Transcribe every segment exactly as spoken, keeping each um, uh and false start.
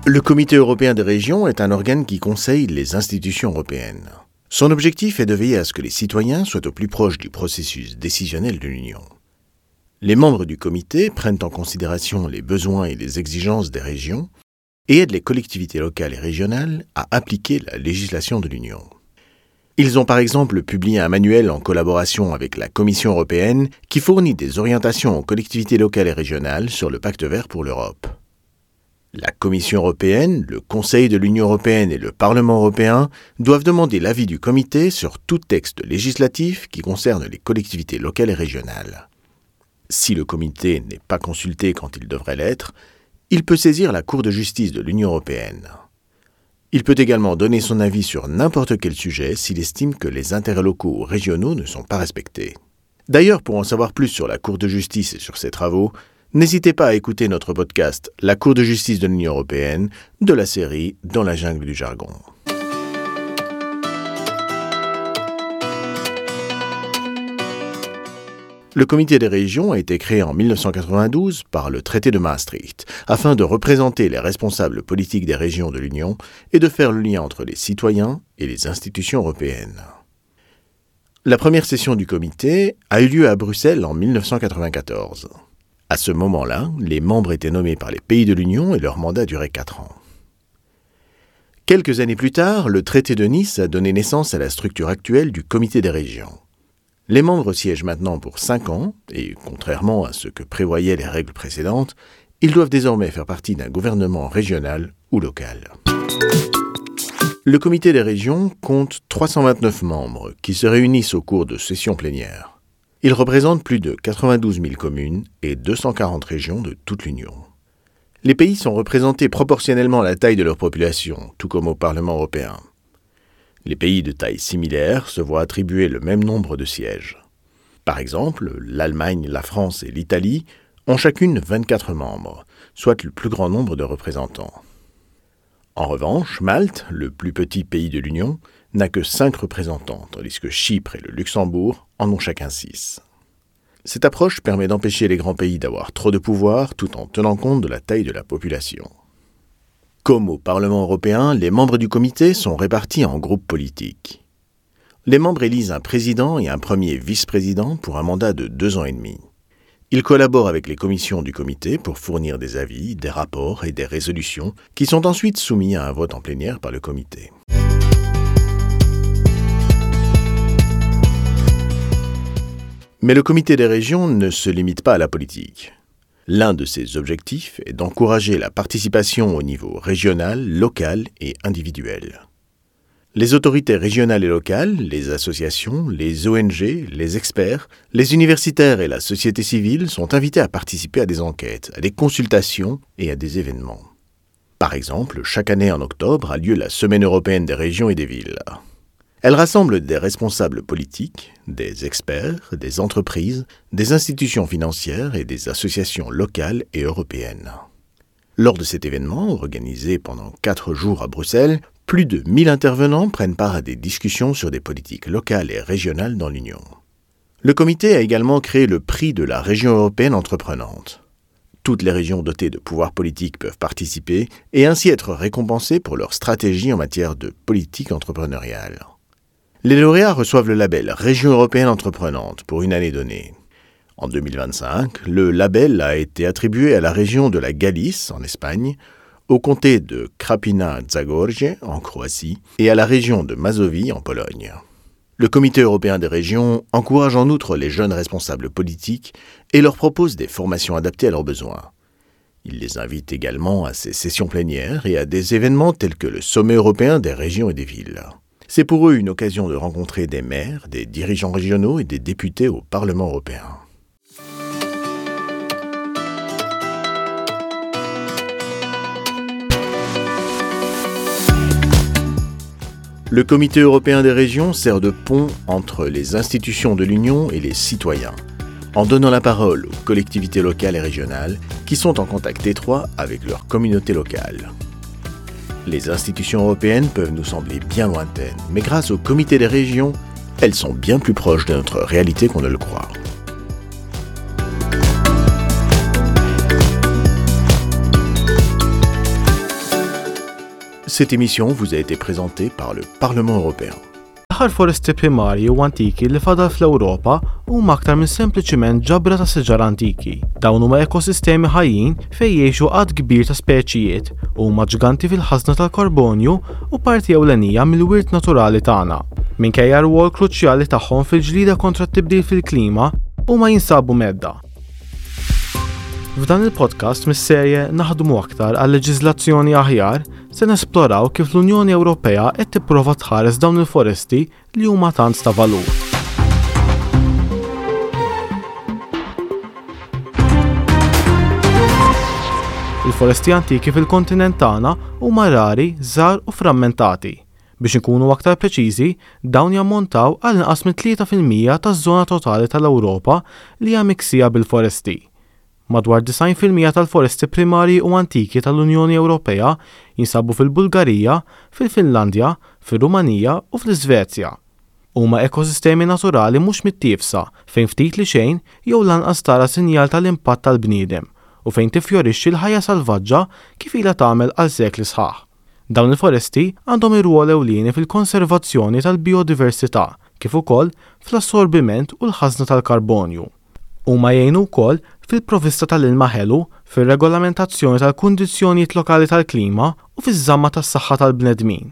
Le Comité européen des régions est un organe qui conseille les institutions européennes. Son objectif est de veiller à ce que les citoyens soient au plus proche du processus décisionnel de l'Union. Les membres du comité prennent en considération les besoins et les exigences des régions et aident les collectivités locales et régionales à appliquer la législation de l'Union. Ils ont par exemple publié un manuel en collaboration avec la Commission européenne qui fournit des orientations aux collectivités locales et régionales sur le Pacte vert pour l'Europe. La Commission européenne, le Conseil de l'Union européenne et le Parlement européen doivent demander l'avis du comité sur tout texte législatif qui concerne les collectivités locales et régionales. Si le comité n'est pas consulté quand il devrait l'être, il peut saisir la Cour de justice de l'Union européenne. Il peut également donner son avis sur n'importe quel sujet s'il estime que les intérêts locaux ou régionaux ne sont pas respectés. D'ailleurs, pour en savoir plus sur la Cour de justice et sur ses travaux, n'hésitez pas à écouter notre podcast La Cour de justice de l'Union européenne de la série Dans la jungle du jargon. Le Comité des régions a été créé en mille neuf cent quatre-vingt-douze par le traité de Maastricht, afin de représenter les responsables politiques des régions de l'Union et de faire le lien entre les citoyens et les institutions européennes. La première session du comité a eu lieu à Bruxelles en mille neuf cent quatre-vingt-quatorze. À ce moment-là, les membres étaient nommés par les pays de l'Union et leur mandat durait quatre ans. Quelques années plus tard, le traité de Nice a donné naissance à la structure actuelle du Comité des régions. Les membres siègent maintenant pour cinq ans et, contrairement à ce que prévoyaient les règles précédentes, ils doivent désormais faire partie d'un gouvernement régional ou local. Le Comité des régions compte trois cent vingt-neuf membres qui se réunissent au cours de sessions plénières. Il représente plus de quatre-vingt-douze mille communes et deux cent quarante régions de toute l'Union. Les pays sont représentés proportionnellement à la taille de leur population, tout comme au Parlement européen. Les pays de taille similaire se voient attribuer le même nombre de sièges. Par exemple, l'Allemagne, la France et l'Italie ont chacune vingt-quatre membres, soit le plus grand nombre de représentants. En revanche, Malte, le plus petit pays de l'Union, n'a que cinq représentants, tandis que Chypre et le Luxembourg en ont chacun six. Cette approche permet d'empêcher les grands pays d'avoir trop de pouvoir tout en tenant compte de la taille de la population. Comme au Parlement européen, les membres du comité sont répartis en groupes politiques. Les membres élisent un président et un premier vice-président pour un mandat de deux ans et demi. Ils collaborent avec les commissions du comité pour fournir des avis, des rapports et des résolutions qui sont ensuite soumis à un vote en plénière par le comité. Mais le comité des régions ne se limite pas à la politique. L'un de ses objectifs est d'encourager la participation au niveau régional, local et individuel. Les autorités régionales et locales, les associations, les O N G, les experts, les universitaires et la société civile sont invités à participer à des enquêtes, à des consultations et à des événements. Par exemple, chaque année en octobre a lieu la Semaine européenne des régions et des villes. Elle rassemble des responsables politiques, des experts, des entreprises, des institutions financières et des associations locales et européennes. Lors de cet événement, organisé pendant quatre jours à Bruxelles, plus de mille intervenants prennent part à des discussions sur des politiques locales et régionales dans l'Union. Le comité a également créé le prix de la région européenne entreprenante. Toutes les régions dotées de pouvoirs politiques peuvent participer et ainsi être récompensées pour leur stratégie en matière de politique entrepreneuriale. Les lauréats reçoivent le label Région européenne entreprenante pour une année donnée. En deux mille vingt-cinq, le label a été attribué à la région de la Galice, en Espagne, au comté de Krapina-Zagorje, en Croatie, et à la région de Mazovie, en Pologne. Le Comité européen des régions encourage en outre les jeunes responsables politiques et leur propose des formations adaptées à leurs besoins. Il les invite également à ses sessions plénières et à des événements tels que le Sommet européen des régions et des villes. C'est pour eux une occasion de rencontrer des maires, des dirigeants régionaux et des députés au Parlement européen. Le Comité européen des régions sert de pont entre les institutions de l'Union et les citoyens, en donnant la parole aux collectivités locales et régionales qui sont en contact étroit avec leur communauté locale. Les institutions européennes peuvent nous sembler bien lointaines, mais grâce au Comité des régions, elles sont bien plus proches de notre réalité qu'on ne le croit. Cette émission vous a été présentée par le Parlement européen. L-aħħar foresti primarji u antiki li fadal fl-Ewropa huma aktar minn sempliċiment ġabra ta' siġar antiki. Dawn huma ekosistemi ħajjin fejn jgħixu għadd kbir ta' speċijiet u huma ġganti fil-ħażna tal-karbonju u parti ewlenija mill-wirt naturali tagħna. Minkejja r-rwol kruċjali tagħhom fil-ġlida kontra t-tibdil fil-klima, huma jinsabu mhedda. F'dan il-podcast mis-serje Naħdmu aktar għal leġiżlazzjoni aħjar se nesploraw kif l-Unjoni Ewropea qed tipprova tħares dawn il-foresti li huma tant ta' valur. Il-foresti antiki fil-kontinent tagħna huma rari, żgħar u frammentati. Biex inkunu aktar preċiżi, dawn jammontaw għal inqas minn tlieta fil-mija taż-żona totali tal-Ewropa li hija miksija bil-foresti. Madwar disgħin fil-mija tal-foresti primarji u antiki tal-Unjoni Ewropea jinsabu fil-Bulgarija, fil-Finlandja, fir-Rumanija u fl-Iżvezja. Huma ekosistemi naturali mhux mittiefsa fejn ftit li xejn jew lanqas tara sinjal tal-impatt tal-bniedem u fejn tifjorixxi l-ħajja salvaġġa kif ilha tagħmel għal sekli sħaħ. Dawn il-foresti għandhom ir-rwol ewlieni fil-konservazzjoni tal-biodiversità kif ukoll fl-assorbiment u l-ħażna tal-karbonju. Huma jgħinu wkoll fil-provvista tal-ilma ħelu, fir-regolamentazzjoni tal-kundizzjonijiet lokali tal-klima u fiż-żamma tas-saħħa tal-bnedmin.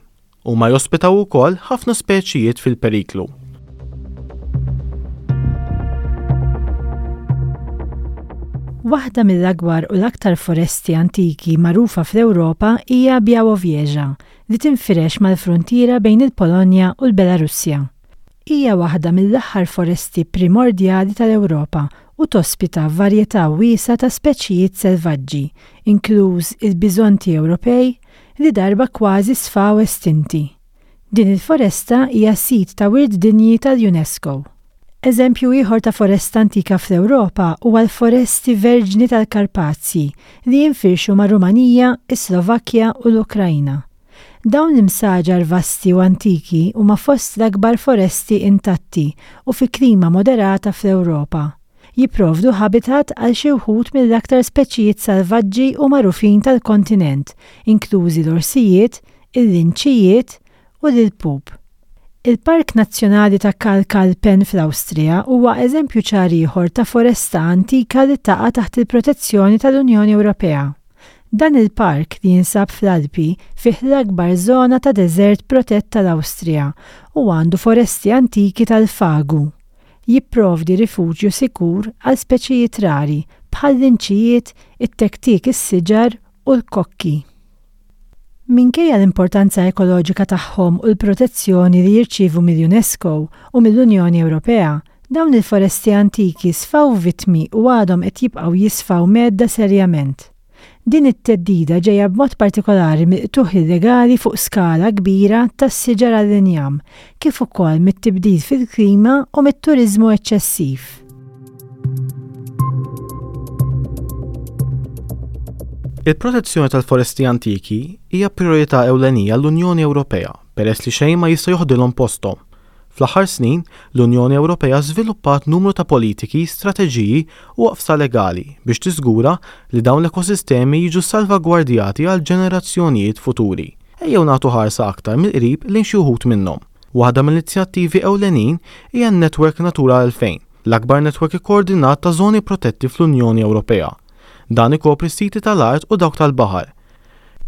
Huma jospitaw ukoll ħafna speċijiet fil-periklu. Waħda mill-akbar u l-aktar foresti antiki magħrufa fl-Ewropa hija Białowieża, li tinfirex mal-frontiera bejn il-Polonja u l-Belarussja. Hija waħda mill-aħħar foresti primordjali tal-Ewropa u tospita varjetà wiesgħa ta' speċijiet selvaġġi, inkluż il-biżonti Ewropej li darba kważi sfaw estinti. Din il-foresta hija sit ta' wirt dinji tal-UNESCO. Eżempju ieħor ta' foresta antika fl-Ewropa huwa l-foresti verġni tal-Karpazji li jinfirxu ma' Rumanija, is-Slovakkja u l-Ukrajna. Dawn l-imsaġar vasti u antiki huma fost l-akbar foresti intatti u fi klima moderata fl-Ewropa. Jipprovdu habitat għal xi wħud mill-aktar speċijiet salvaġġi u magħrufin tal-kontinent, inklużi l-orsijiet, il-linċijiet u l-ilpup. Il-Park Nazzjonali ta' Kalkalpen fl-Awstrija huwa eżempju ċar ieħor ta' foresta antika li taqa' taħt il-protezzjoni tal-Unjoni Ewropea. Dan il-park li jinsab fl-Alpi fih l-akbar żona ta' deżert protett tal-Awstrija u għandu foresti antiki tal-fagu. Jipprovdi rifuġju sikur għal speċijiet rari bħal linċijiet, it-tektik is-siġar u l-kokki. Minkejja l-importanza ekoloġika tagħhom u l-protezzjoni li jirċievu mill-UNESCO u mill-Unjoni Ewropea, dawn il-foresti antiki sfaw vittmi u għadhom qed jibqgħu jisfaw mhedda serjament. Din it-theddida ġejja b'mod partikolari mill-qtugħ illegali fuq skala kbira tas-siġar għall-injam, kif ukoll mit-tibdil fil-klima u mit-turiżmu eċċessiv. Il-protezzjoni tal-foresti antiki hija priorità ewlenija l-Unjoni Ewropea peress li xejn ma jista' joħdilhom posthom. Fl-aħħar snin, l-Unjoni Ewropea żviluppat numru ta' politiki, strateġiji u oqfsa legali biex tiżgura li dawn l-ekosistemi jiġu salvagwardjati għal ġenerazzjonijiet futuri. Ejjew nagħtu ħarsa aktar mill-qrib lejn xi wħud minnhom. Waħda mill-inizjattivi ewlenin hija n-Network Natura elfejn, l-akbar network ikkoordinat ta' żoni protetti fl-Unjoni Ewropea. Dan ikopri siti tal-art u dawk tal-baħar.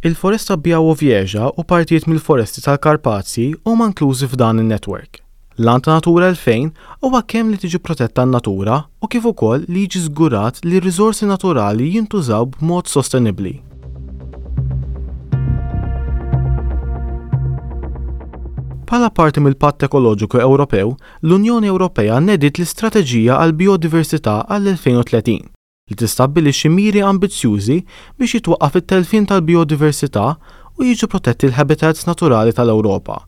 Il-foresta Białowieża u partijiet mill-foresti tal-Karpazji huma inklużi f'dan in-network. L-għan ta' Natura elfejn huwa kemm li tiġi protetta n-natura u kif ukoll li jiġi żgurat li r-riżorsi naturali jintużaw b'mod sostenibbli. Bħala parti mill-Patt Ekoloġiku Ewropew, l-Unjoni Ewropea nediet l-Istrateġija għall-Biodiversità għall-elfejn u tletin li tistabbilixxi miri ambizzjużi biex jitwaqqaf it-telfien tal-biodiversità u jiġu protetti l-habitats naturali tal-Ewropa.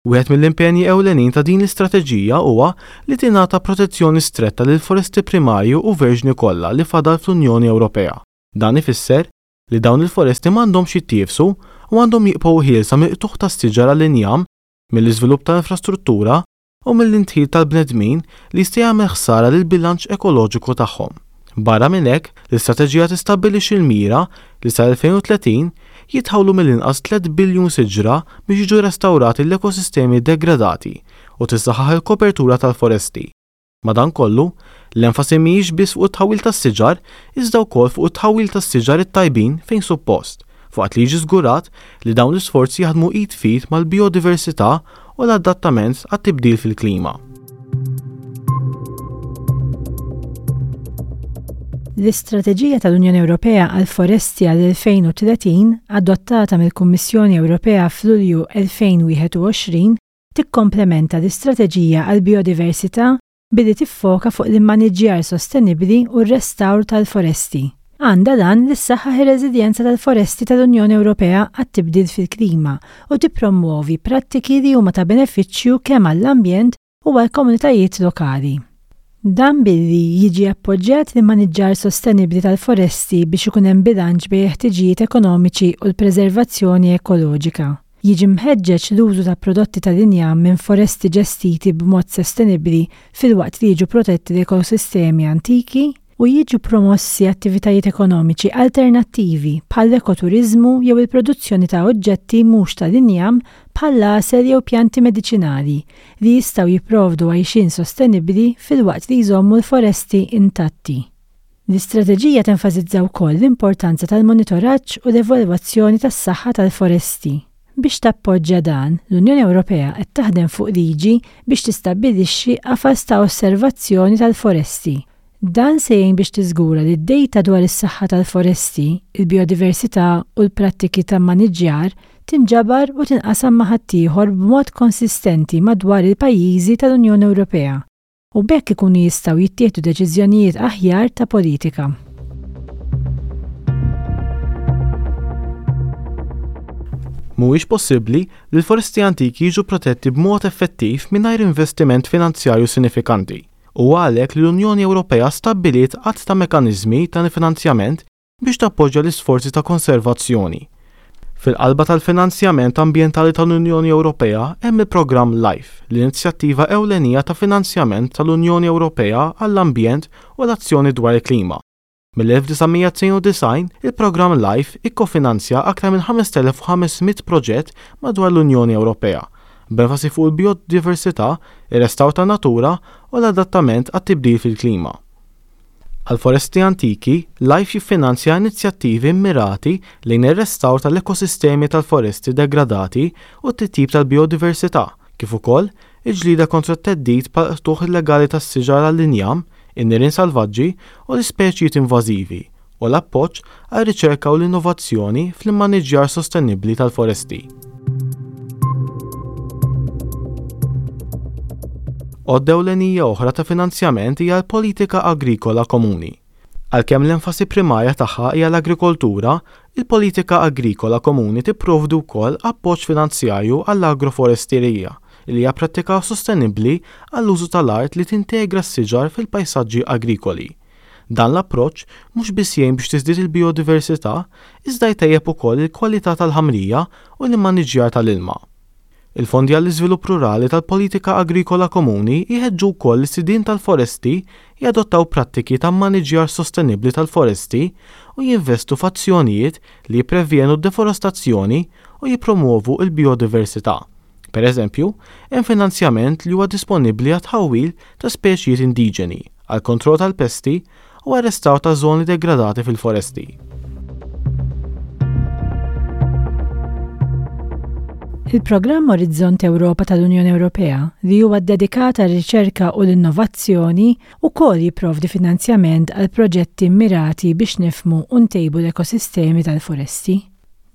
Wieħed mill-impenji ewlenin ta' din l-istrateġija huwa li tingħata protezzjoni stretta lil foresti primarji u verġni kollha li fadal fl-Unjoni Ewropea. Dan ifisser li dawn il-foresti m'għandhomx jittiefsu u għandhom jibqgħu ħielsa mill-qtugħ tas-siġar għall-injam, mill-iżvilupp tal-infrastruttura u mill-intħil tal-bnedmin li jista' jagħmel ħsara lill-bilanċ ekoloġiku tagħhom. Barra minn hekk, l-istrateġija tistabbilixxi l-mira li sal-elfejn u tletin jitħawlu mill-inqas tliet biljun siġra biex jiġu restawrati l-ekosistemi degradati u tissaħħaħ il-kopertura tal-foresti. Madankollu, l-enfasi mhijiex biss fuq it-tħawwil tas-siġar, iżda wkoll fuq it-tħawwil tas-siġar it-tajbin fejn suppost, fuqat li jiġi żgurat li dawn l-isforzi jaħdmu id f'id mal-biodiversità u l-adattament għat-tibdil fil-klima. L-Istrateġija tal-Unjoni Ewropea għall-Foresti għall-elfejn u tletin, adottata mill-Kummissjoni Ewropea f'Lulju elfejn wieħed u għoxrin, tikkomplementa l-Istrateġija għall-Biodiversità billi tiffoka fuq l-immaniġġjar sostenibbli u r-restawr tal-foresti. Għandha dan li ssaħħaħ ir-reżiljenza tal-foresti tal-Unjoni Ewropea għat-tibdil fil-klima u tippromwovi prattiki li huma ta' benefiċċju kemm għall-ambjent u għall-komunitajiet lokali. Dan billi jiġi appoġġjat l-immaniġġar sostenibbli tal-foresti biex ikun hemm bilanċ bejn ħtiġijiet ekonomiċi u l-preservazzjoni ekoloġika. Jiġi mħeġġeġ l-użu ta' prodotti tal-injam minn foresti ġestiti b'mod sostenibbli filwaqt li jiġu protetti l-ekosistemi antiki u jiġu promossi attivitajiet ekonomiċi alternattivi bħall-ekoturiżmu jew il-produzzjoni ta' oġġetti mhux tal-injam bħall-għasel jew pjanti mediċinali li jistgħu jipprovdu għajxien sostenibbli filwaqt li jżommu l-foresti intatti. L-istrateġija tenfasizza wkoll l-importanza tal-monitoraġġ u l-evalwazzjoni tas-saħħa tal-foresti. Biex tappoġġja dan, l-Unjoni Ewropea qed taħdem fuq liġi biex tistabbilixxi qafas ta' osservazzjoni tal-foresti. Dan se jgħin biex tiżgura li d-dejta dwar is-saħħa tal-foresti, il-biodiversità u l-prattiki ta' maniġġjar tinġabar u tinqasam ma' ħaddieħor b'mod konsistenti madwar il-pajjiżi tal-Unjoni Ewropea u b'hekk ikunu jistgħu jittieħdu deċiżjonijiet aħjar ta' politika. Mhuwiex possibbli li l-foresti antiki jiġu protetti b'mod effettiv mingħajr investiment finanzjarju sinifikanti. U għalhekk li l-Unjoni Ewropea stabbiliet għadd ta' mekkaniżmi ta' finanzjament biex tappoġġja l-isforzi ta' konservazzjoni. Fil-qalba tal-finanzjament ambjentali tal-Unjoni Ewropea hemm il-programm LIFE, l-inizjattiva ewlenija ta' finanzjament tal-Unjoni Ewropea għall-ambjent u l-azzjoni dwar il-klima. Mill-elf disa' mija tnejn u disgħin, il-programm LIFE ikkofinanzja aktar minn ħames elef u ħames mitt proġett madwar l-Unjoni Ewropea, b'enfasi fuq il-biodiversità, ir-restawr tan-natura u l-adattament għat-tibdil fil-klima. Għal-foresti antiki, LIFE jiffinanzja inizjattivi mmirati lejn ir-restawr tal-ekosistemi tal-foresti degradati u t-titjib tal-biodiversità, kif ukoll il-ġlieda kontra t-theddid bħal qtugħ illegali tas-siġar għall-injam, in-nirien salvaġġi u l-ispeċijiet invażivi, u l-appoġġ għar-riċerka u l-innovazzjoni fl-immaniġġjar sostenibbli tal-foresti. Għodda ewlenija oħra ta' finanzjament hija l-politika agrikola komuni. Għalkemm l-enfasi primarja tagħha hija l-agrikoltura, il-politika agrikola komuni tipprovdi wkoll appoġġ finanzjarju għall-agroforesterija, li hija prattika sostenibbli għall-użu tal-art li tintegra s-siġar fil-pajsaġġi agrikoli. Dan l-approċċ mhux biss jgħin biex tiżdied il-biodiversità, iżda jtejjeb ukoll il-kwalità tal-ħamrija u l-immaniġġjar tal-ilma. Il-fondi għall-iżvilupp rurali tal-politika agrikola komuni jħeġġu wkoll lis-sidien tal-foresti jadottaw prattiki ta' mmaniġġjar sostenibbli tal-foresti u jinvestu f'azzjonijiet li jipprevjenu d-deforestazzjoni u jippromuovu l-biodiversità. Per eżempju, hemm finanzjament li huwa disponibbli għat-tħawwil ta' speċijiet indiġeni, għal kontroll tal-pesti u għar-restawr ta' żoni degradati fil-foresti. Il-programm Orizzont Ewropa tal-Unjoni Ewropea, li huwa ddedikat għar-riċerka u l-innovazzjoni, ukoll jipprovdi finanzjament għal proġetti mmirati biex nifhmu u ntejbu l-ekosistemi tal-foresti.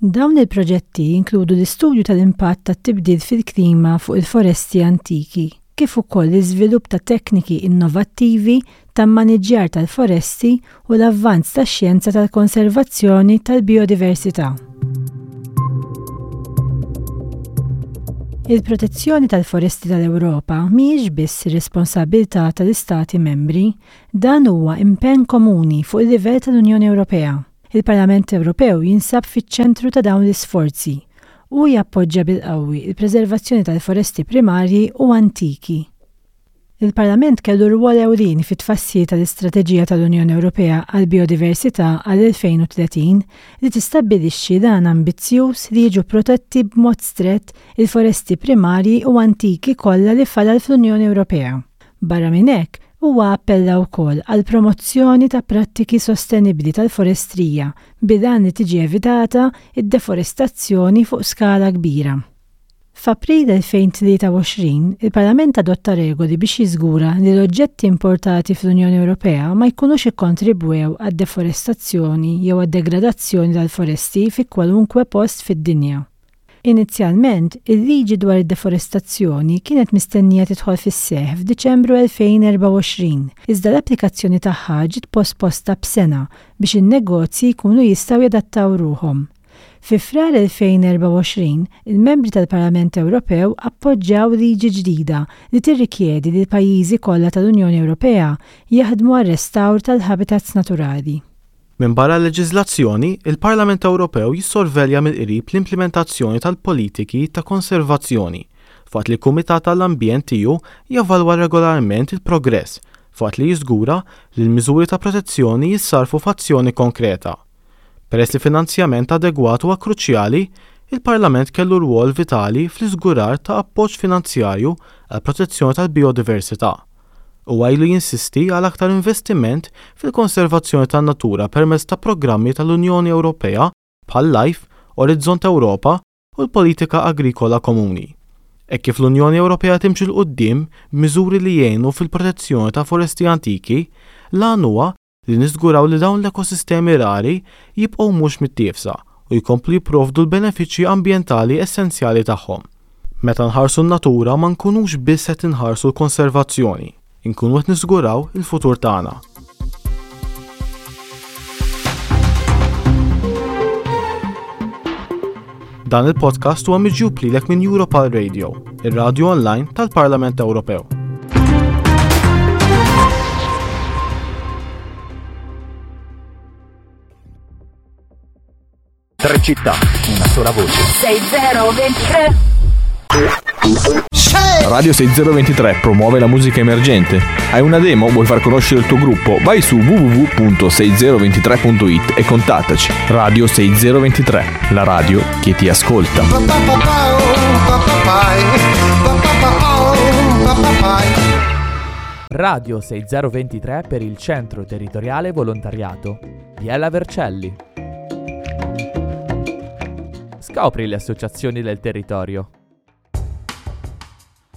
Dawn il-proġetti jinkludu l-istudju tal-impatt tat-tibdil fil-klima fuq il-foresti antiki, kif ukoll l-iżvilupp ta' tekniki innovattivi ta' mmaniġġjar tal-foresti u l-avvanz tax-xjenza tal-konservazzjoni tal-biodiversità. Il-protezzjoni tal-foresti tal-Ewropa mhijiex biss ir-responsabbiltà tal-Istati membri, dan huwa impenn komuni fuq il-livell tal-Unjoni Ewropea. Il-Parlament Ewropew jinsab fiċ-ċentru ta' dawn l-isforzi u jappoġġja bil-qawwi il-preservazzjoni tal-foresti primarji u antiki. Il-Parlament kellu rwol ewlieni fit-tfassil tal-Istrateġija tal-Unjoni Ewropea għall-Biodiversità għall-elfejn u tletin li tistabbilixxi dan ambizzjuż li jiġu protetti b'mod strett il-foresti primarji u antiki kollha li fadal fl-Unjoni Ewropea. Barra minn hekk, huwa appella wkoll għal promozzjoni ta' prattiki sostenibbli tal-forestrija bil-għan li tiġi evitata id-deforestazzjoni fuq skala kbira. F'April elfejn tlieta u għoxrin, il-Parlament adotta regoli biex jiżgura li l-oġġetti importati fl-Unjoni Ewropea ma jkunux ikkontribwew għad-deforestazzjoni jew għad-degradazzjoni tal-foresti fi kwalunkwe post fid-dinja. Inizjalment, il-liġi dwar id-deforestazzjoni kienet mistennija tidħol fis-seħħ f'Diċembru elfejn erbgħa u għoxrin, iżda l-applikazzjoni tagħha ġiet posposta b'sena biex in-negozji jkunu jistgħu jadattaw ruħhom. Fi Frar elfejn erbgħa u għoxrin, il-membri tal-Parlament Ewropew appoġġjaw liġi ġdida li tirrikjedi li l-pajjiżi kollha tal-Unjoni Ewropea jaħdmu għar-restawr tal-habitats naturali. Minbarra l-leġiżlazzjoni, il-Parlament Ewropew jissorvelja mill-qrib l-implementazzjoni tal-politiki ta' konservazzjoni, f'waqt li l-Kumitat tal-Ambjent tiegħu jevalwa regolarment il-progress, f'waqt li jiżgura li l-miżuri ta' protezzjoni jissarfu f'azzjoni konkreta. Peress li finanzjament adegwat huwa kruċjali, il-Parlament kellu rwol vitali fl-iżgurar ta' appoġġ finanzjarju għal protezzjoni tal-biodiversità. Huwa ilu jinsisti għal aktar investiment fil-konservazzjoni tan-natura permezz ta' programmi tal-Unjoni Ewropea bħal LIFE, Orizzont Ewropa u l-Politika Agrikola Komuni. Hekk kif l-Unjoni Ewropea timxi 'l quddiem b'miżuri li jgħinu fil-protezzjoni ta' foresti antiki, l-għan huwa li niżguraw li dawn l-ekosistemi rari jibqgħu mhux mittiefsa u jkomplu jipprovdu l-benefiċċji ambjentali essenzjali tagħhom. Meta nħarsu n-natura ma nkunux biss qed inħarsu l-konservazzjoni, inkunu qed niżguraw il-futur tagħna. Dan il-podcast huwa miġjub lilek minn Europal Radio, ir-radio online tal-Parlament Ewropew. Tre città, una sola voce. sei zero ventitré. Radio sei zero ventitré promuove la musica emergente. Hai una demo? Vuoi far conoscere il tuo gruppo? Vai su w w w punto sei zero ventitré punto it e contattaci. Radio sei zero ventitré, la radio che ti ascolta. Radio sei zero ventitré per il Centro Territoriale Volontariato Biella Vercelli. Scopri le associazioni del territorio.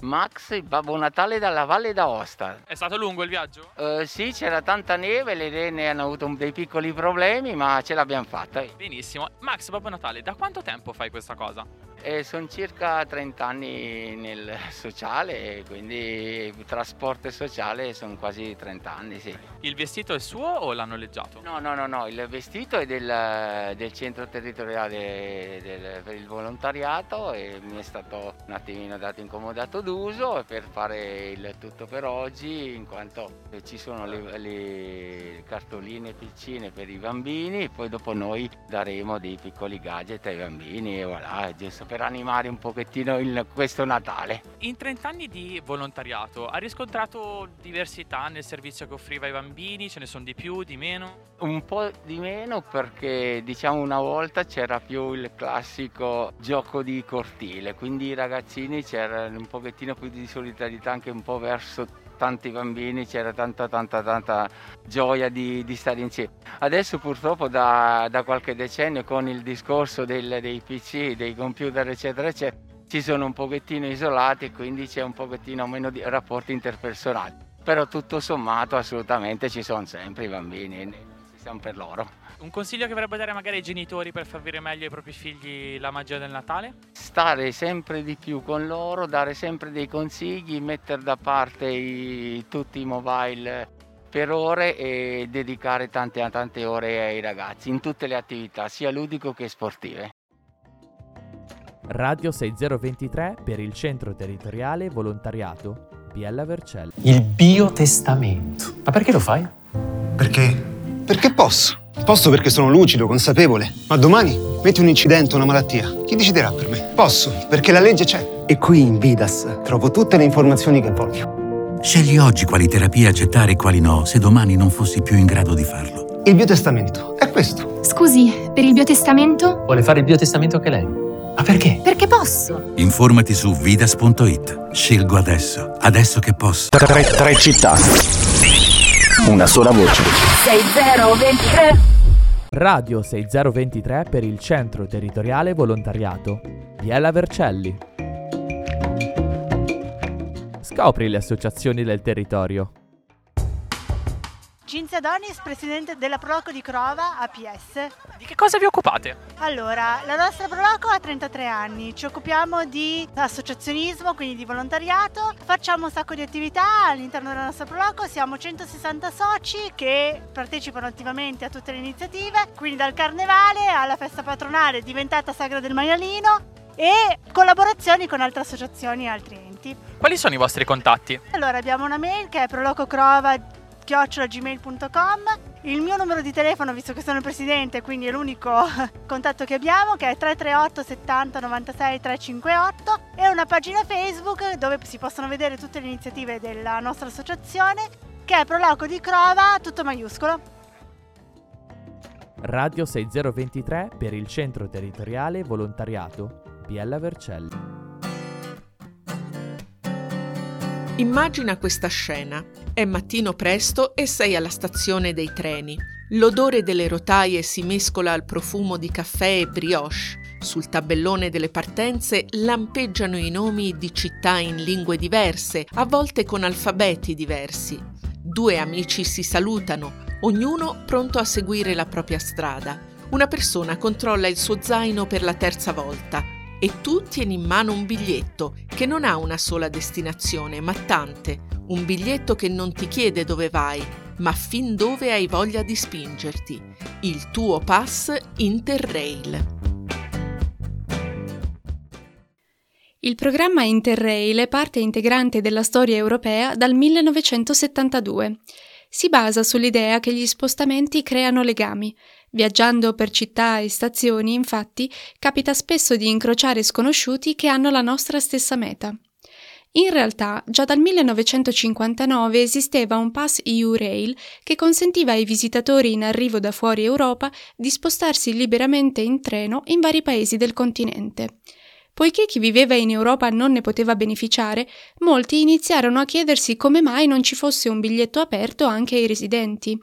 Max, il Babbo Natale dalla Valle d'Aosta. È stato lungo il viaggio? Eh, sì, c'era tanta neve, le renne hanno avuto un, dei piccoli problemi, ma ce l'abbiamo fatta. Benissimo. Max, Babbo Natale, da quanto tempo fai questa cosa? Eh, sono circa trent'anni nel sociale, quindi trasporto e sociale sono quasi trent'anni, sì. Il vestito è suo o l'ha noleggiato? No, no, no, no, il vestito è del, del centro territoriale del, per il volontariato e mi è stato un attimino dato incomodato d'uso per fare il tutto per oggi, in quanto ci sono le, le cartoline piccine per i bambini e poi dopo noi daremo dei piccoli gadget ai bambini e voilà, giusto per animare un pochettino il, questo Natale. In trent'anni di volontariato ha riscontrato diversità nel servizio che offriva ai bambini? Ce ne sono di più, di meno? Un po' di meno, perché diciamo una volta c'era più il classico gioco di cortile, quindi i ragazzini c'era un pochettino più di solidarietà anche un po' verso tanti bambini, c'era tanta tanta tanta gioia di, di stare insieme. Adesso purtroppo da, da qualche decennio con il discorso del, dei P C, dei computer eccetera eccetera, ci sono un pochettino isolati e quindi c'è un pochettino meno di rapporti interpersonali, però tutto sommato assolutamente ci sono sempre i bambini, ci siamo per loro. Un consiglio che vorrebbe dare magari ai genitori per far vivere meglio ai propri figli la magia del Natale? Stare sempre di più con loro, dare sempre dei consigli, mettere da parte i, tutti i mobile per ore e dedicare tante, tante ore ai ragazzi in tutte le attività, sia ludico che sportive. Radio sei zero ventitré per il Centro Territoriale Volontariato Biella Vercelli. Il biotestamento. Ma perché lo fai? Perché? Perché posso. Posso perché sono lucido, consapevole. Ma domani metti un incidente o una malattia. Chi deciderà per me? Posso, perché la legge c'è. E qui in Vidas trovo tutte le informazioni che voglio. Scegli oggi quali terapie accettare e quali no, se domani non fossi più in grado di farlo. Il biotestamento è questo. Scusi, per il biotestamento? Vuole fare il biotestamento anche lei? Ma perché? Perché posso. Informati su vidas punto it. Scelgo adesso, adesso che posso. Tre, tre città. Una sola voce. sei zero ventitré. Radio sei zero ventitré per il Centro Territoriale Volontariato. Biella Vercelli. Scopri le associazioni del territorio. Cinzia Donis, presidente della Proloco di Crova A P S. Di che cosa vi occupate? Allora, la nostra Proloco ha trentatré anni, ci occupiamo di associazionismo, quindi di volontariato, facciamo un sacco di attività all'interno della nostra Proloco, siamo centosessanta soci che partecipano attivamente a tutte le iniziative, quindi dal carnevale alla festa patronale diventata Sagra del Maialino e collaborazioni con altre associazioni e altri enti. Quali sono i vostri contatti? Allora, abbiamo una mail che è prolococrova chiocciola gmail punto com, il mio numero di telefono, visto che sono il presidente, quindi è l'unico contatto che abbiamo, che è tre tre otto settanta novantasei tre cinque otto, e una pagina Facebook dove si possono vedere tutte le iniziative della nostra associazione, che è Proloco di Crova, tutto maiuscolo. Radio sei zero ventitré per il Centro Territoriale Volontariato Biella Vercelli. Immagina questa scena. È mattino presto e sei alla stazione dei treni. L'odore delle rotaie si mescola al profumo di caffè e brioche. Sul tabellone delle partenze lampeggiano i nomi di città in lingue diverse, a volte con alfabeti diversi. Due amici si salutano, ognuno pronto a seguire la propria strada. Una persona controlla il suo zaino per la terza volta. E tu tieni in mano un biglietto che non ha una sola destinazione, ma tante. Un biglietto che non ti chiede dove vai, ma fin dove hai voglia di spingerti. Il tuo pass Interrail. Il programma Interrail è parte integrante della storia europea dal millenovecentosettantadue. Si basa sull'idea che gli spostamenti creano legami. Viaggiando per città e stazioni, infatti, capita spesso di incrociare sconosciuti che hanno la nostra stessa meta. In realtà, già dal millenovecentocinquantanove esisteva un pass E U Rail che consentiva ai visitatori in arrivo da fuori Europa di spostarsi liberamente in treno in vari paesi del continente. Poiché chi viveva in Europa non ne poteva beneficiare, molti iniziarono a chiedersi come mai non ci fosse un biglietto aperto anche ai residenti.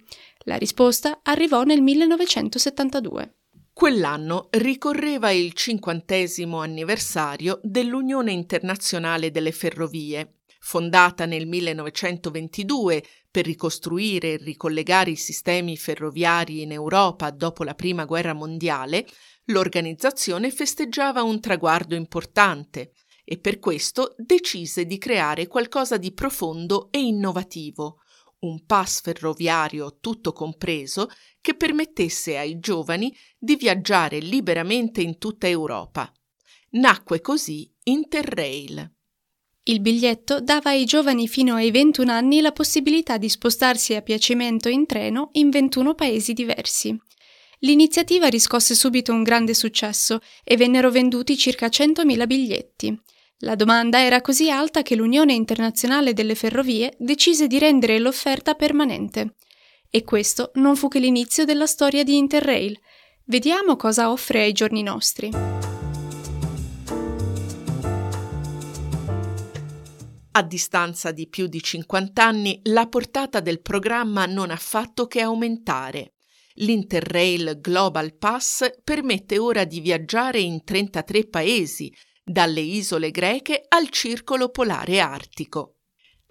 La risposta arrivò nel millenovecentosettantadue. Quell'anno ricorreva il cinquantesimo anniversario dell'Unione Internazionale delle Ferrovie, fondata nel millenovecentoventidue per ricostruire e ricollegare i sistemi ferroviari in Europa dopo la Prima Guerra Mondiale. L'organizzazione festeggiava un traguardo importante e per questo decise di creare qualcosa di profondo e innovativo, un pass ferroviario tutto compreso che permettesse ai giovani di viaggiare liberamente in tutta Europa. Nacque così Interrail. Il biglietto dava ai giovani fino ai ventuno anni la possibilità di spostarsi a piacimento in treno in ventuno paesi diversi. L'iniziativa riscosse subito un grande successo e vennero venduti circa centomila biglietti. La domanda era così alta che l'Unione Internazionale delle Ferrovie decise di rendere l'offerta permanente. E questo non fu che l'inizio della storia di Interrail. Vediamo cosa offre ai giorni nostri. A distanza di più di cinquanta anni, la portata del programma non ha fatto che aumentare. L'Interrail Global Pass permette ora di viaggiare in trentatré paesi, dalle isole greche al circolo polare artico.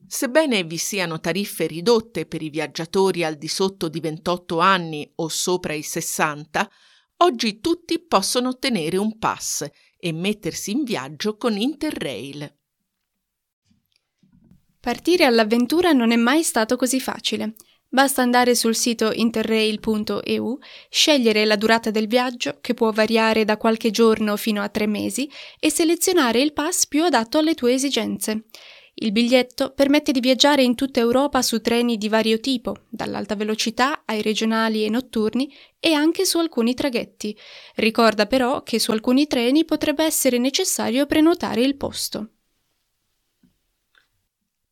Sebbene vi siano tariffe ridotte per i viaggiatori al di sotto di ventotto anni o sopra i sessanta, oggi tutti possono ottenere un pass e mettersi in viaggio con Interrail. Partire all'avventura non è mai stato così facile. Basta andare sul sito interrail punto e u, scegliere la durata del viaggio, che può variare da qualche giorno fino a tre mesi, e selezionare il pass più adatto alle tue esigenze. Il biglietto permette di viaggiare in tutta Europa su treni di vario tipo, dall'alta velocità ai regionali e notturni, e anche su alcuni traghetti. Ricorda però che su alcuni treni potrebbe essere necessario prenotare il posto.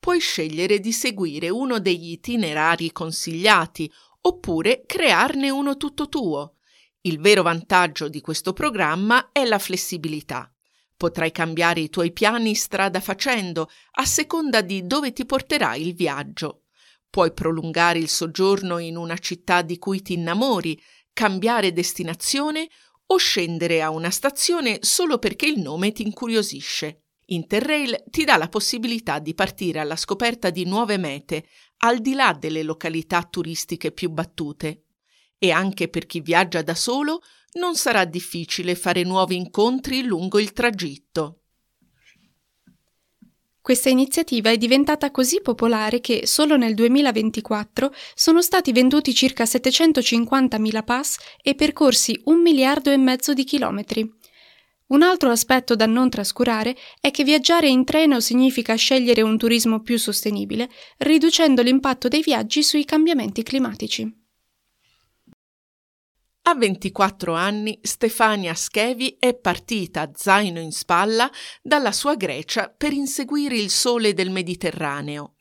Puoi scegliere di seguire uno degli itinerari consigliati oppure crearne uno tutto tuo. Il vero vantaggio di questo programma è la flessibilità. Potrai cambiare i tuoi piani strada facendo, a seconda di dove ti porterà il viaggio. Puoi prolungare il soggiorno in una città di cui ti innamori, cambiare destinazione o scendere a una stazione solo perché il nome ti incuriosisce. Interrail ti dà la possibilità di partire alla scoperta di nuove mete, al di là delle località turistiche più battute. E anche per chi viaggia da solo non sarà difficile fare nuovi incontri lungo il tragitto. Questa iniziativa è diventata così popolare che solo nel duemilaventiquattro sono stati venduti circa settecentocinquantamila pass e percorsi un miliardo e mezzo di chilometri. Un altro aspetto da non trascurare è che viaggiare in treno significa scegliere un turismo più sostenibile, riducendo l'impatto dei viaggi sui cambiamenti climatici. A ventiquattro anni Stefania Schevi è partita, zaino in spalla, dalla sua Grecia per inseguire il sole del Mediterraneo.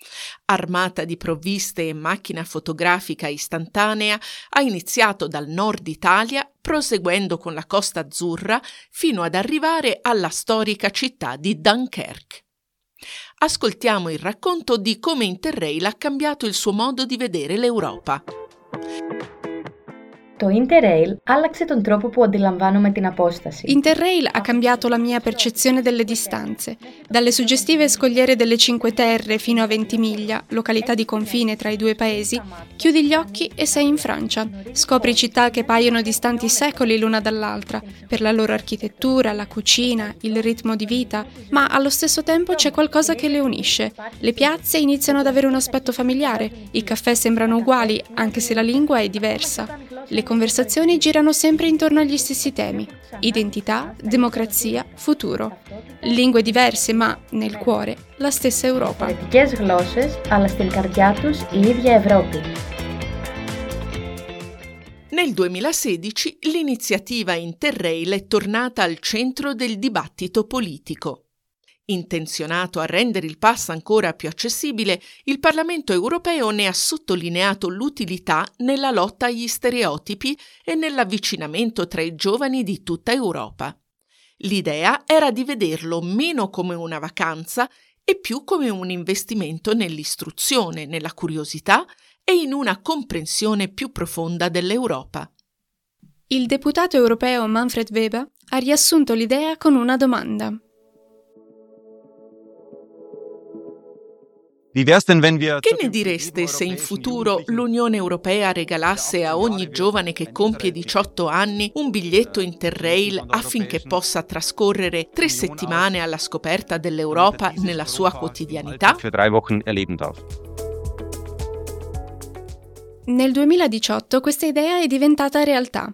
Armata di provviste e macchina fotografica istantanea, ha iniziato dal nord Italia, proseguendo con la Costa Azzurra fino ad arrivare alla storica città di Dunkerque. Ascoltiamo il racconto di come Interrail ha cambiato il suo modo di vedere l'Europa. Το Interrail άλλαξε τον τρόπο που αντιλαμβάνομαι την απόσταση. Interrail ha cambiato la mia percezione delle distanze. Dalle suggestive scogliere delle Cinque Terre fino a Ventimiglia, località di confine tra i due paesi, chiudi gli occhi e sei in Francia. Scopri città che paiono distanti secoli l'una dall'altra, per la loro architettura, la cucina, il ritmo di vita, ma allo stesso tempo c'è qualcosa che le unisce. Le piazze iniziano ad avere un aspetto familiare, i caffè sembrano uguali, anche se la lingua è diversa. Le conversazioni girano sempre intorno agli stessi temi: identità, democrazia, futuro. Lingue diverse, ma, nel cuore, la stessa Europa. Διαφορετικές γλώσσες, αλλά στην καρδιά τους η ίδια Ευρώπη. Nel duemilasedici l'iniziativa Interrail è tornata al centro del dibattito politico. Intenzionato a rendere il pass ancora più accessibile, il Parlamento europeo ne ha sottolineato l'utilità nella lotta agli stereotipi e nell'avvicinamento tra i giovani di tutta Europa. L'idea era di vederlo meno come una vacanza e più come un investimento nell'istruzione, nella curiosità e in una comprensione più profonda dell'Europa. Il deputato europeo Manfred Weber ha riassunto l'idea con una domanda. Che ne direste se in futuro l'Unione Europea regalasse a ogni giovane che compie diciotto anni un biglietto Interrail affinché possa trascorrere tre settimane alla scoperta dell'Europa nella sua quotidianità? Nel duemiladiciotto questa idea è diventata realtà.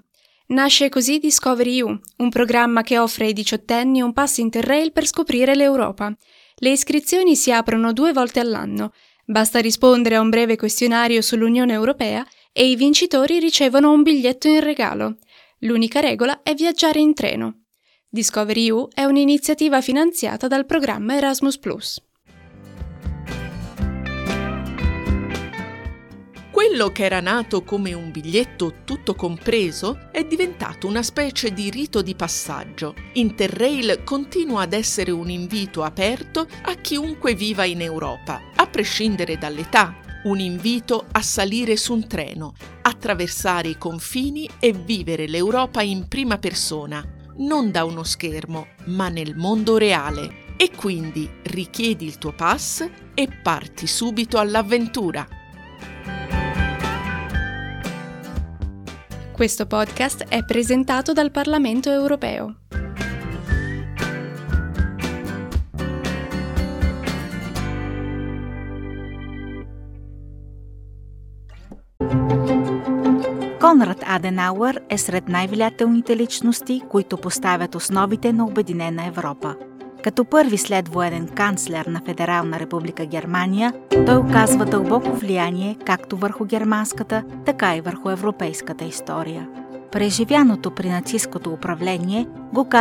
Nasce così Discovery E U, un programma che offre ai diciottenni un pass Interrail per scoprire l'Europa. Le iscrizioni si aprono due volte all'anno. Basta rispondere a un breve questionario sull'Unione Europea e i vincitori ricevono un biglietto in regalo. L'unica regola è viaggiare in treno. Discovery E U è un'iniziativa finanziata dal programma Erasmus plus. Quello che era nato come un biglietto tutto compreso è diventato una specie di rito di passaggio. Interrail continua ad essere un invito aperto a chiunque viva in Europa, a prescindere dall'età. Un invito a salire su un treno, attraversare i confini e vivere l'Europa in prima persona, non da uno schermo, ma nel mondo reale. E quindi richiedi il tuo pass e parti subito all'avventura. Questo podcast è presentato dal Parlamento europeo. Конрад Аденауер е сред най-влиятелните личности, които поставят основите на Обединена Европа. Като първи следвоенен канцлер на Федерална република Германия, той оказва дълбоко влияние както върху германската, така и върху европейската история. Преживяното при нацисткото управление го